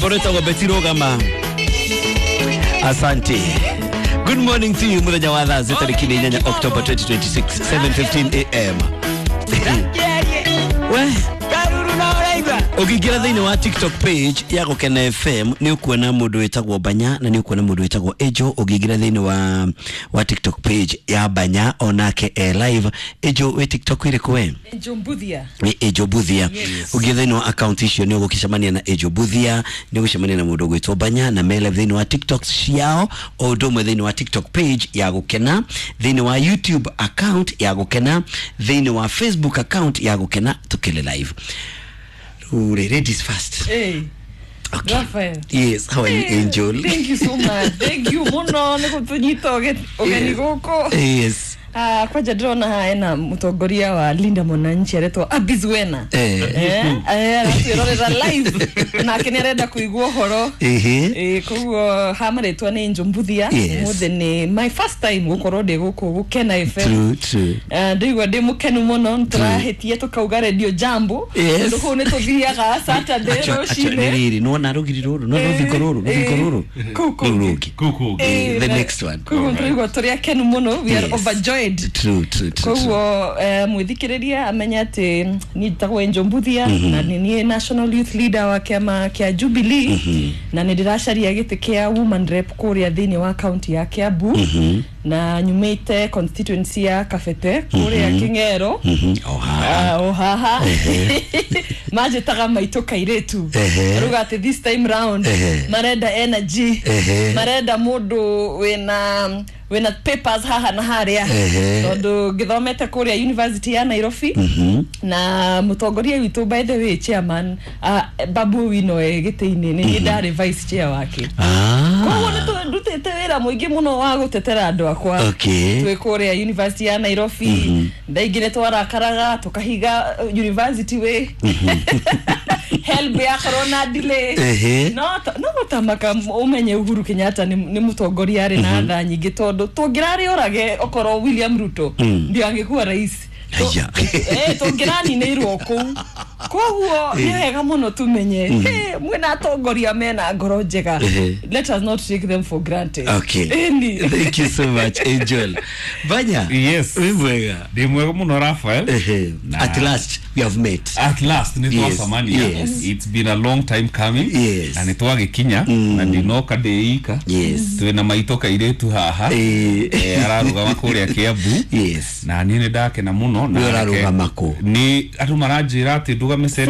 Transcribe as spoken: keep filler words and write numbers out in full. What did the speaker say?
Rwĩtagwo Betty Rũgama. Asante. Good morning to you, muthenya wa Thursday, tariki nĩ inyanya October twenty twenty-six, seven fifteen a m. We ũngĩingĩra thĩinĩ wa TikTok page ya Gũkena F M, nĩ ũkuona mũndũ wĩtagwo Banya na nĩ ũkuona mũndũ wĩtagwo Angel. Ũngĩingĩra thĩinĩ wa wa TikTok page ya Banya, onake e live. Angel, wĩ TikTok ĩrĩkũ we? Njumbuthia. Nĩ Angel Buthia. Yes. Ũngĩ thĩinĩ wa account icio nĩ ũgũkĩcemania na Angel Buthia, nĩ ũgũcemania na mũndũ ũgwĩtwo Banya na me live thĩinĩ wa TikTok ciao, o ũndũ ũmwe thĩinĩ wa TikTok page ya Gũkena, thĩinĩ wa YouTube account ya Gũkena, thĩinĩ wa Facebook account ya Gũkena, tũkĩrĩ live. Rĩu rĩ, ladies first. Hey. Okay. Raphael. Yes, how are you, Hey, Angel? Thank you so much. Thank you muno nĩ gũtũnyita ũge- ũgeni gũkũ. Yes. Ah, kwanja ndĩrona haha ena mũtongoria wa Linda Mwananchi aretwo Abizwena. Eh. Eh, eh, aratwĩrorera live nake nĩ arenda kũigua ũhoro. Ehe. Eh, koguo ha marĩtwa nĩ Njumbuthia. Yes. Ũmũthĩ nĩ my first time gũkorwo ndĩ gũkũ Gũkena F M. True, true. Ah, ndĩigua ndĩ mũkenu mũno, nĩtũrahĩtie tũkauga Radio Jambo Yes. tondũ kũu nĩ tũthiaga Saturday Acho- acho, rũcinĩ. nĩ rĩrĩ nĩwona rũgiri rũrũ no rũthingo rũrũ rũthingo rũrũ Kũu rũu kũngĩ. rũngĩ. Kuu kuu. Eh, The na- next one. Koguo tũraigua tũrĩ akenu mũno, we are Yes. overjoyed. True, true, true, true. Koguo eh, mwĩthikĩrĩria amenye atĩ niĩ njĩtagwo Angel Mbuthia na nĩ niĩ national youth leader wa kĩama kĩa Jubilee na nĩ ndĩracaria gĩtĩ kĩa woman rep kũrĩa thĩinĩ wa kaunti ya Kiambu na nyumĩte constituency ya Kabete kũrĩa Kĩng'ero. Mhm. O haha. Ah, o haha manjĩtaga maitũ kairĩtu. Ehe. Ruga atĩ this time round Ehe. marenda energy, Ehe. marenda mũndũ wĩna wĩna papers haha na harĩa Ehe. tondũ ngĩthomete kũrĩa University ya Nairobi na mũtongoria witũ, by the way, chairman uh, Babu Wino e gĩtĩ-inĩ, nĩ niĩ ndarĩ vice chair wake. Ah. Koguo nĩ ndutĩte wĩra mũingĩ mũno wa gũtetera andũ akwa. Okay. Twĩ kũrĩa University ya Nairobi, ndaingĩ nĩ twarakaraga tũkahiga uh, university wĩ HELB yakorwo na delay. Ehe. No ta- no gũtamaka ũmenye Uhuru Kenyatta nĩ nĩ mũtongoria arĩ na tha nyingĩ tondũ tũngĩrarĩ orage okorwo William Ruto ndiangĩkua rais. Haya. Eh, tũngĩraninĩirwo kũu. Koguo nĩ wega mũno tumenye, hey, mwĩna atongoria mena ngoro njega. Ehe. Let us not take them for granted. Okay. Ĩni. Thank you so much, Angel. Banya. Yes. Wĩ mwega? Ndĩ mwega mũno, Raphael. Ehe. Na- At last we have met. At last nĩ Yes, twacemania. yes. It's been a long time coming. Yes. Na nĩ twagĩkinya na ndinoka ndĩ ika. Yes. Twĩna maitũ kairĩtu haha. Eh. Eh, ararũgama kũrĩa Kiambu. Yes. Na niĩ nĩ ndakena mũno na Nĩ ũrarũgama kũ? Nĩ andũ maranjĩra atĩ ndũgame.